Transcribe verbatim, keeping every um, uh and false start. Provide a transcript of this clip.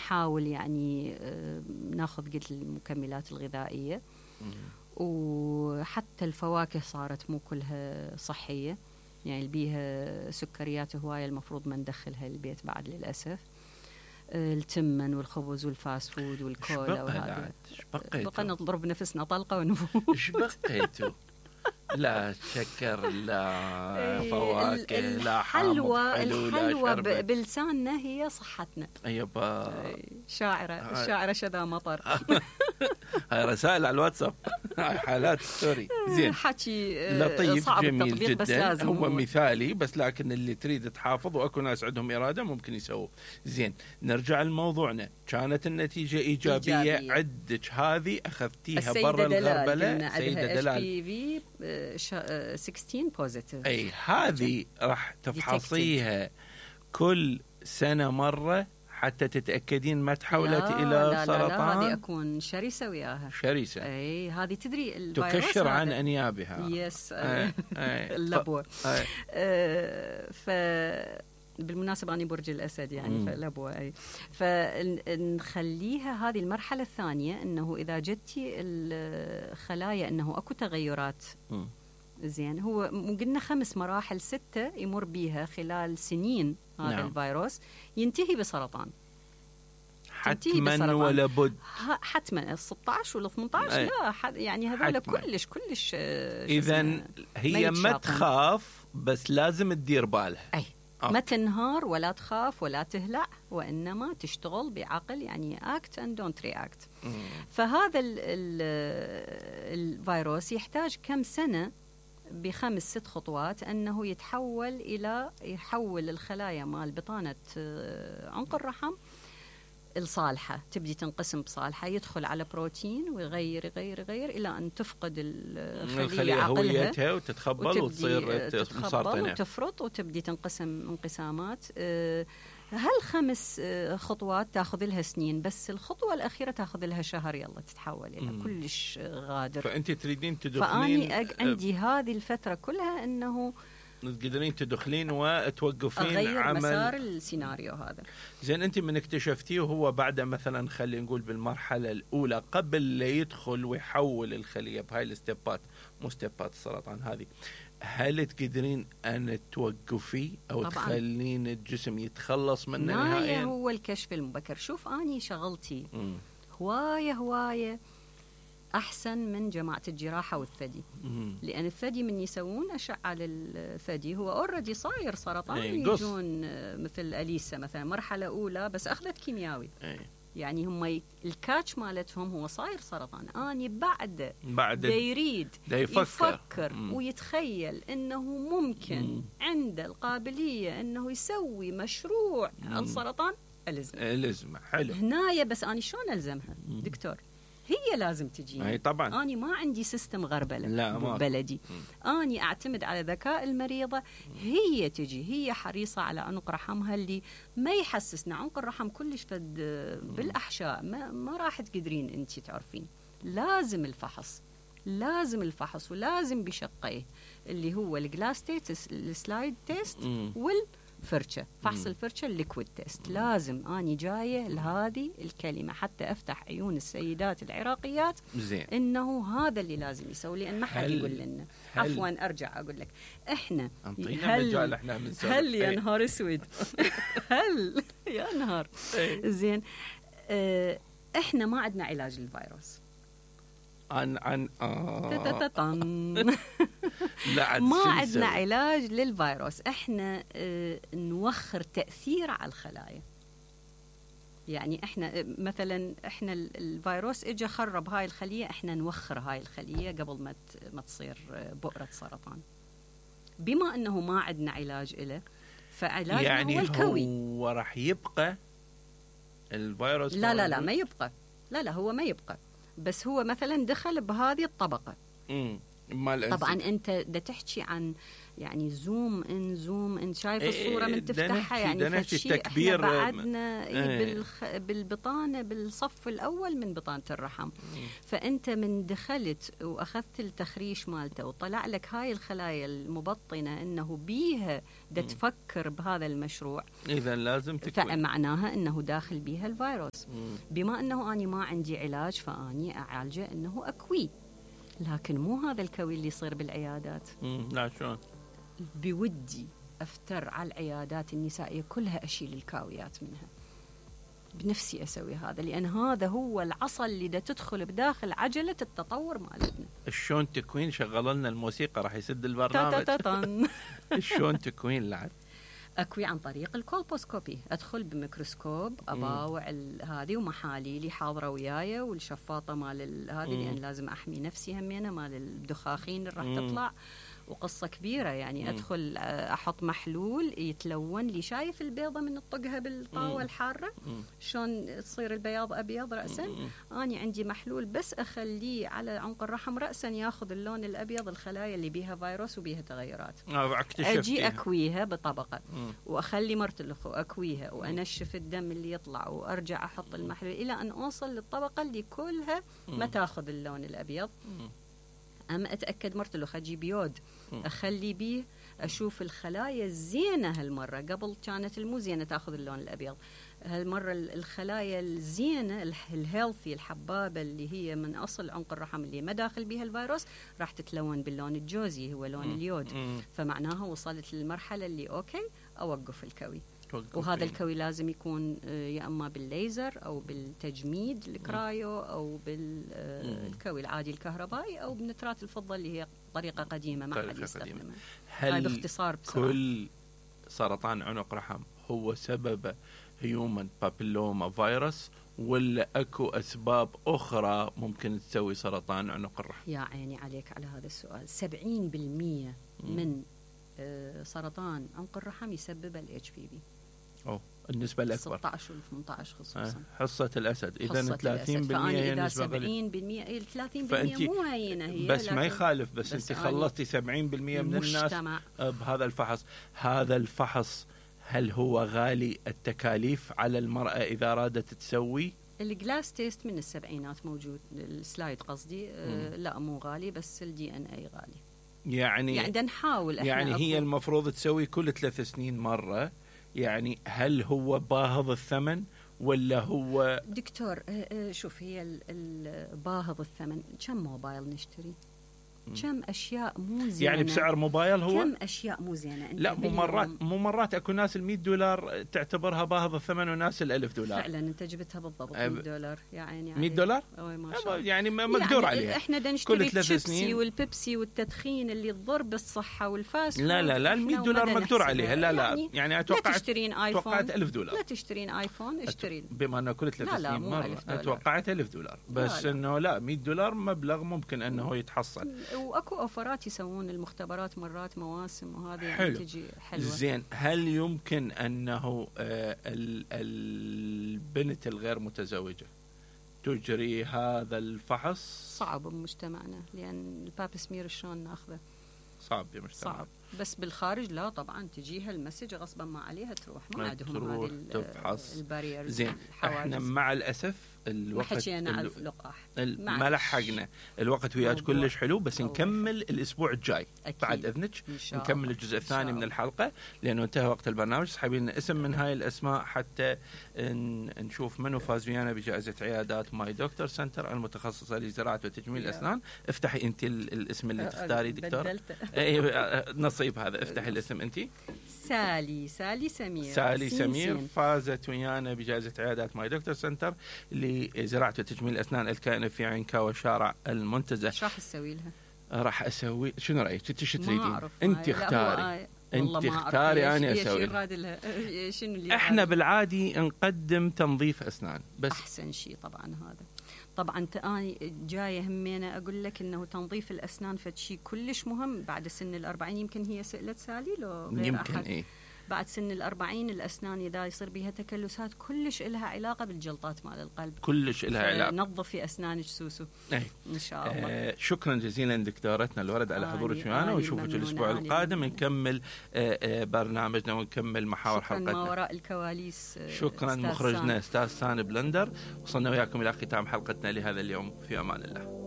نحاول يعني ناخذ قلت المكملات الغذائية. وحتى الفواكه صارت مو كلها صحية، يعني اللي بيها سكريات هواية المفروض ما ندخلها البيت بعد للأسف. التمن والخبز والفاست فود والكولا وهذا بقى نضرب نفسنا طلقة ونفوت. ايش بقيتوا؟ لا شكر، لا فواكه، لا حلوى. الحلوى بلساننا هي صحتنا. ايوه شاعرة الشاعرة شذا مطر. هاي رسائل على الواتساب، هاي حالات ستوري. زين، حكي لطيف صعب جميل التطبيق جدا. بس لازم هو مثالي، بس لكن اللي تريد تحافظ واكو ناس عندهم إرادة ممكن يسووا. زين، نرجع لموضوعنا. كانت النتيجة إيجابية, إيجابية. عدك هذه أخذتيها برا الغربلة. سيدة دلال بي في ستة عشر بوزيتيف. أي هذه راح تفحصيها كل سنة مرة حتى تتأكدين ما تحولت إلى لا سرطان. لا لا، هذه أكون شرسة وياها. شرسة. أي هذه تدري الفيروس تكشر عن أنيابها. يس. أي. أي. اللبوة. أي. أه ف بالمناسبة أنا برج الأسد يعني فلبوة. أي. فنخليها هذه المرحلة الثانية، أنه إذا جدتي الخلايا أنه أكو تغيرات. م. زين، هو قلنا خمس مراحل ستة يمر بيها خلال سنين هذا. نعم. الفيروس ينتهي بسرطان حتما ولا بد. حتما ستة عشر ولا ثمانية عشر. أي. لا حد يعني هذول كلش كلش. إذن هي ما تخاف بس لازم تدير بالها. أي. ما تنهار ولا تخاف ولا تهلع، وإنما تشتغل بعقل، يعني act and don't react. مم. فهذا ال ال الفيروس يحتاج كم سنة بخمس ست خطوات أنه يتحول إلى يحول الخلايا مال بطانة عنق الرحم الصالحة، تبدي تنقسم بصالحة، يدخل على بروتين ويغير يغير يغير إلى أن تفقد الخلية هويتها وتتخبل وتصير مسرطنة وتفرط وتبدي تنقسم انقسامات. هالخمس خطوات تاخذ لها سنين، بس الخطوة الأخيرة تاخذ لها شهر يلا تتحول إلى مم. كلش غادر. فأنت تريدين تدخلين. فأني عندي هذه الفترة كلها أنه تقدرين تدخلين وتوقفين أغير عمل مسار السيناريو هذا. زين، أنت من اكتشفتيه وهو بعد مثلا خلينا نقول بالمرحلة الأولى قبل لا يدخل ويحول الخلية بهاي الستيبات، مو ستيبات السرطان هذه، هل تقدرين أن توقفي أو طبعاً. تخلين الجسم يتخلص منه نهائيا؟ هو الكشف المبكر. شوف أني شغلتي م. هواية هواية أحسن من جماعة الجراحة والثدي. مم. لأن الثدي من يسوون أشعة للثدي هو أوريدي صاير سرطان. أي. يجون مثل أليسا مثلا مرحلة أولى بس أخذت كيمياوي. أي. يعني هم الكاتش مالتهم هو صاير سرطان. أني بعد بعد يريد يفكر, يفكر ويتخيل أنه ممكن مم. عنده القابلية أنه يسوي مشروع مم. السرطان. ألزمه ألزمه حلو هنايا. بس أنا شلون ألزمها مم. دكتور؟ هي لازم تجيني. أي طبعا. أنا ما عندي سيستم غربلة بلدي. أنا أعتمد على ذكاء المريضة. هي تجي، هي حريصة على عنق رحمها اللي ما يحسسنا. عنق الرحم كلش فد بالأحشاء، ما, ما راح تقدرين أنت تعرفين. لازم الفحص، لازم الفحص ولازم بشقيه اللي هو الجلاس تيست، السلايد تيست وال فرشة، فحص الفرشة الليكويد تيست. لازم أني جاية لهذه الكلمة حتى أفتح عيون السيدات العراقيات زين. إنه هذا اللي لازم يسوي، لأن ما حد يقول لنا. عفوا أرجع أقول لك، إحنا هل إحنا هل يا نهار أسود هل يا نهار زين اه إحنا ما عندنا علاج للفيروس. عن عن آه. ما عندنا علاج للفيروس. احنا اه نوخر تأثير على الخلايا. يعني احنا مثلا احنا الفيروس اجى خرب هاي الخلية، احنا نوخر هاي الخلية قبل ما ما تصير بؤرة سرطان. بما انه ما عندنا علاج له، فعلاجنا يعني هو الكوي. هو راح يبقى الفيروس؟ لا لا لا ما يبقى. لا لا هو ما يبقى، بس هو مثلا دخل بهذه الطبقة. مم. طبعا انت دا تحكي عن يعني زوم ان زوم ان شايف الصوره من تفتحها يعني تكبير بعدنا بالخ... بالبطانه بالصف الاول من بطانه الرحم. فانت من دخلت واخذت التخريش مالته وطلع لك هاي الخلايا المبطنه انه بيها دا تفكر بهذا المشروع، اذا لازم تكوي، فمعناها انه داخل بيها الفيروس. بما انه اني ما عندي علاج فاني اعالجه انه اكوي، لكن مو هذا الكوي اللي يصير بالعيادات. لا شلون؟ بودي افتر على العيادات النسائيه كلها اشيل الكاويات منها، بنفسي اسوي هذا، لان هذا هو العصا اللي دا تدخل بداخل عجله التطور مالتنا. شلون تكوين؟ شغل لنا الموسيقى راح يسد البرنامج. شلون تكوين لعد؟ اكوي عن طريق الكولبوسكوبي، ادخل بميكروسكوب اباوع هذه ومحاليلي حاضره وياي والشفاطه مال هذه، لان لازم احمي نفسي همينه مال الدخاخين اللي راح تطلع، وقصة كبيرة يعني. مم. أدخل أحط محلول يتلون لي، شايف البيضة من الطقها بالطاوة الحارة شلون تصير البياض أبيض رأسا؟ أنا عندي محلول بس أخليه على عنق الرحم رأسا ياخذ اللون الأبيض، الخلايا اللي بيها فيروس وبيها تغيرات. أجي أكويها بطبقة مم. وأخلي مرت الأخو أكويها وأنشف الدم اللي يطلع وأرجع أحط المحلول إلى أن أوصل للطبقة اللي كلها ما تاخذ اللون الأبيض. مم. أما أتأكد مرتلخ أجيب يود أخلي بيه، أشوف الخلايا الزينة هالمرة، قبل كانت المو زينة تأخذ اللون الأبيض، هالمرة الخلايا الزينة الهيلثي الحبابة اللي هي من أصل عنق الرحم اللي ما داخل بيها الفيروس راح تتلون باللون الجوزي هو لون اليود. فمعناها وصلت للمرحلة اللي أوكي أوقف الكوي. وهذا الكوي لازم يكون يا اما بالليزر او بالتجميد الكرايو او بالكوي العادي الكهربائي او بنترات الفضه اللي هي طريقه قديمه ما حد يستخدمها. هل باختصار بسرعة. كل سرطان عنق رحم هو سببه هيومن بابيلوما فيروس ولا اكو اسباب اخرى ممكن تسوي سرطان عنق الرحم؟ يا عيني عليك على هذا السؤال. سبعين بالمئة من سرطان عنق الرحم يسبب الاتش بي في. أوه. النسبة الأكبر ستة عشر وثمانية عشر خصوصا. حصة الأسد إذا ثلاثين بالمئة هي النسبة قليلة. سبعين بالمئة ثلاثين بالمئة مو هينة هي، بس ما يخالف، بس, بس أنت خلصتي سبعين بالمئة من الناس بهذا الفحص. هذا الفحص هل هو غالي التكاليف على المرأة إذا أرادت تسوي؟ الجلاس تيست من السبعينات موجود، السلايد قصدي. آه لا مو غالي، بس الدي ان اي غالي. يعني يعني نحاول احنا يعني هي المفروض تسوي كل ثلاث سنين مرة. يعني هل هو باهظ الثمن ولا هو دكتور؟ شوف هي الباهظ الثمن. كم موبايل نشتري؟ كم اشياء مو زينه يعني بسعر موبايل هو كم اشياء مو زينه. لا مو مرات مو مرات اكو ناس ال مئة دولار تعتبرها باهظ الثمن وناس ال ألف دولار. فعلا انت جبتها بالضبط. مئة دولار يعني مئة دولار يعني مقدور يعني عليها. احنا نشتري الشيبسي والبيبسي والتدخين اللي تضر بالصحه والفاست. لا لا لا ال مئة دولار مقدور عليها. لا لا يعني, يعني اتوقع لا تشترين ايفون. توقعت ألف دولار. لا تشترين ايفون اشترين بما انه كل ثلاث سنين مره اتوقعت ألف دولار. بس انه لا مئة دولار مبلغ ممكن انه يتحصل. واكو اوفرات يسوون المختبرات مرات مواسم وهذه يعني تجي حلوة. زين هل يمكن أنه آه البنت الغير متزوجة تجري هذا الفحص؟ صعب بمجتمعنا لأن الباب سمير شلون ناخذه؟ صعب بمجتمعنا. صعب. بس بالخارج لا طبعا تجيها المسج غصبا ما عليها تروح، ما عندهم هذه البارير. زين احنا مع الأسف الوقت حكينا على اللقاح ما لحقنا. الوقت وياك كلش حلو، بس نكمل الأسبوع الجاي أكيد. بعد إذنك نكمل الجزء الثاني من الحلقة لأنه انتهى وقت البرنامج. اسحبي لنا اسم من هاي الأسماء حتى نشوف منو فاز ويانا بجائزة عيادات ماي دكتور سنتر المتخصصة لزراعة وتجميل الأسنان. افتحي أنت الاسم اللي تختاري دكتور. نصيب هذا. افتحي الاسم أنت. سالي سالي سمير. سالي سمير فازت ويانا بجائزة عيادات ماي دكتور سنتر لزراعة وتجميل الأسنان الكائنة في عكاوى شارع المنتزه. شو راح تسوي لها؟ راح أسوي شنو رأيك؟ انت شو تريدين؟ انت اختاري. انت اختاري انا اسوي لها. شنو اللي احنا بالعادي نقدم تنظيف اسنان بس احسن شيء طبعا هذا. طبعا اني جايه همينه اقول لك انه تنظيف الاسنان فد شيء كلش مهم بعد سن الأربعين. يمكن هي سئلت سالي لو غير يمكن أحد. إيه؟ بعد سن الأربعين الأسنان إذا يصير بها تكلسات كلش إلها علاقة بالجلطات مال القلب، كلش إلها علاقة. نظفي أسنانك سوسو. أي. إن شاء الله. آه شكرا جزيلا دكتورتنا الورد على حضورك معنا، ونشوفك الأسبوع القادم نكمل آه آه برنامجنا ونكمل محاور حلقتنا. شكرا ما وراء الكواليس. آه شكرا مخرجنا أستاذ سان بلندر. وصلنا وياكم إلى ختام حلقتنا لهذا اليوم، في أمان الله.